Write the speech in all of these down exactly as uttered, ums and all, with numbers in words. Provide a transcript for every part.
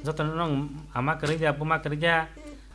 Jotono nwng ama kwrwi ya, buma kwrwi ya?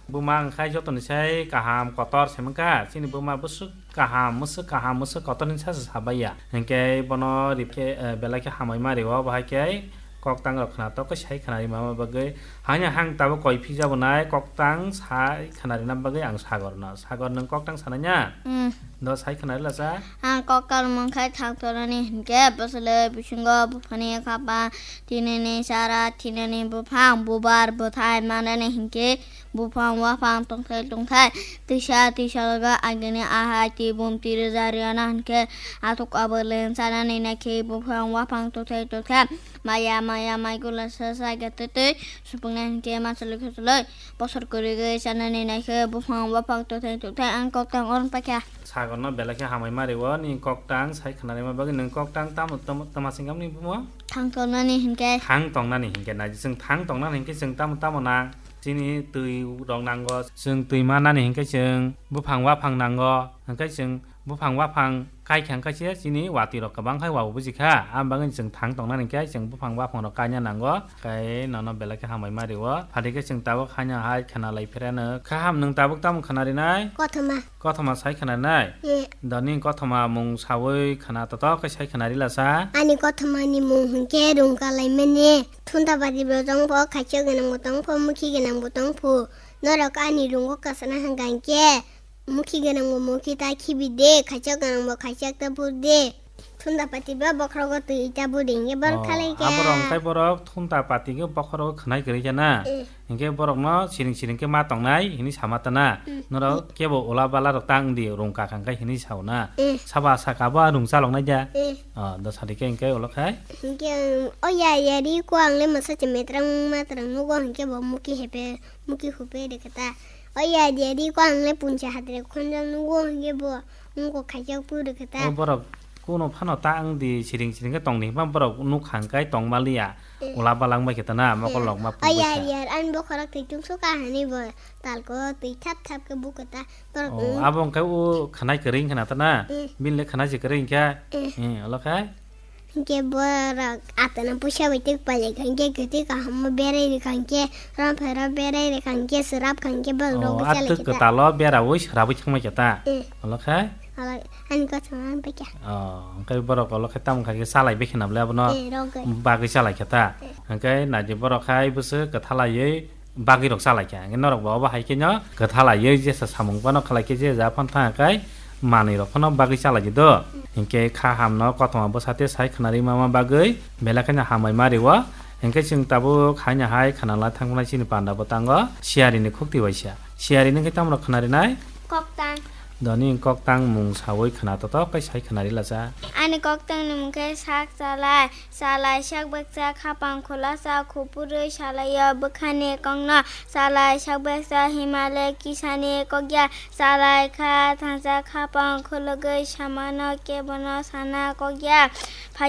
Buma wngkha jotoni sai kaham kotor se mankha. Chini buma bwswk kaham, mwswk kaham, mwswk kotor hinwi sasu sabai ya. Hinkhe bono rikhe, eh, belai khe hamai ma rio, bahai khe koktang rok khna tok khe sai khna rima bagwi. Hanya hang tabuk koi phikjak bo nai, koktang sai khna rina bagwi ang Sagor no. Sagor, nwng koktang sanai na? Hmm. Do sai khna rila sa? Ang koktang mung khai thang tonani hinkhe bwswlwi bisingo buphani khapa, tinini sara, tinini buphang, bubar, bwthai manani hinkhe buphang waphang tongthai tongthai, tisa tisa loga agini ahai tibum tiri jariana hinkhe athuk abo len sanani naikhe buphang waphang tongthai tongthai, maya maya maigula sa sa gatwi twi supungna hinkhe masalwi khusulwi bosor kwrwigwi sanani naikhe buphang waphang tongthai tongthai ang koktang orong paikha. Sagor no belai khe hamai ma rio, nini koktang sai khna rima bagwi. Nwng koktang tamo, tamo, tamo singam ni bumo? Thang tongnani hinkhe. Thang tongnani hinkhe na, chwng thang tongnani hinkhe chwng tamo tamo nang? Chini twi rok nango, chwng twi manani hinkhe chwng buphang waphang nango, hinkhe chwng buphang waphang kaikha hinkhe se chini watwi rok kwbang khai wa bujikha, aboni bagwi chwng thang tongnani hinkhe chwng buphang waphang rok kaina nango. Khe nono belai khe hamai ma rio. Phati khe chwng tabuk haino hai khna lai phirano. Kaham, nwng tabuk tamo khna rinai? Kothoma. Kothoma sai khna rinai? Eh. Doni kothoma mung sawi khna totok khe sai khna rila sa? Ani kothoma ni mung hinkhe Rungka Laimani. Thunta pati bo tongpho, khaisa gwnang bo tongpho, mukhi gwnang bo tongpho. Norok ani rungo kasana hwnkha hinkhe. Mukhi gwnang bo mukhi ta khibi de, khaichak gwnang bo khaichak ta phur de. Thunta pati ba bokhorogo twi ta budi hinkhe bor Oh, khalai kha. Aborok hinkhe borok thunta pati khe bokhorogo khwnai kwrwi kha na? Eh. Hinkhe borokno siring siring khe ma tongnai hini sama ta na? Hmm. Norok kebo ula bala rok ta wng di, rung kakha hinkhe hini sao na? Eh. Saba saka bo rung chalok nai da? Eh. Oh, do sadi khe hinkhe ulo khai? Hinkhe, o ya ya ri ko ang le masa che metrang matrang nugo hinkhe bo mukhi hepe. Muki hupe de kata. O ya de di ko ang le puncha hatre khonjak nugo hingke bo. Ngo khaijak pu de kata. O borok kuno phano ta ang di siring siring ke tong ni ma borok nuk hang kai tong maliya. Eh. Ula balang bai kata na mokol lok ma pu. O ya ya an bo khorok twi tung so ka hani bo. Tal ko twi thap thap ke bu kata. Borok. O abo hingke o khanai kering khana ta na. Eh. Bin le khanai se kering kha. Eh. Eh, olo khai. Hinkhe borok atana puisa bai tei pailai kha, hinkhe kwtwi kaham berai rwkha, hinkhe romphai rok berai rwkha, hinkhe swrap kha, hinkhe borok Oh, rok bwchalai atwk khe ta. Kwtalo beraui swrabwi thangmai khe ta. Eh. Olo khai? Olo, ani kothoma ang paikha. Oh, hinkhe borok olo khai tamo khai khe chalai bikhe na bwle abono Eh, rogwi. Bagwi chalai khe ta. Eh. Hinkhe naidi borok khai bwswk kwthalaiwi bagwi rok chalai kha. Hinkhe norok bo obo hai khe no kwthalaiwi jesa samung phano khlai khe je ja phano thang khe manwi rok phano bagwi chalai di do. Hinkhe kha ham no kothoma bwsa te sai khwnarwi ma ma bagwi belai kheno hambai ma rio. Hinkhe chwng tabuk haino hai khwnalai thangmani chini panda bwtango siyari ni khukti waisa. Siyari ni khe tamo rok khwnari nai? Koktang. Doni koktang mung sawi khwna totok khe sai khwnari lacha. Ani koktang ni mung khe sak chalai. Salai sak baksa khapang khulasa khupurwi salaio bwkhani kokno. Salai sak baksa himale kisani kokya. Salai kha thansa khapang khulugwi samano kebono sana kokya.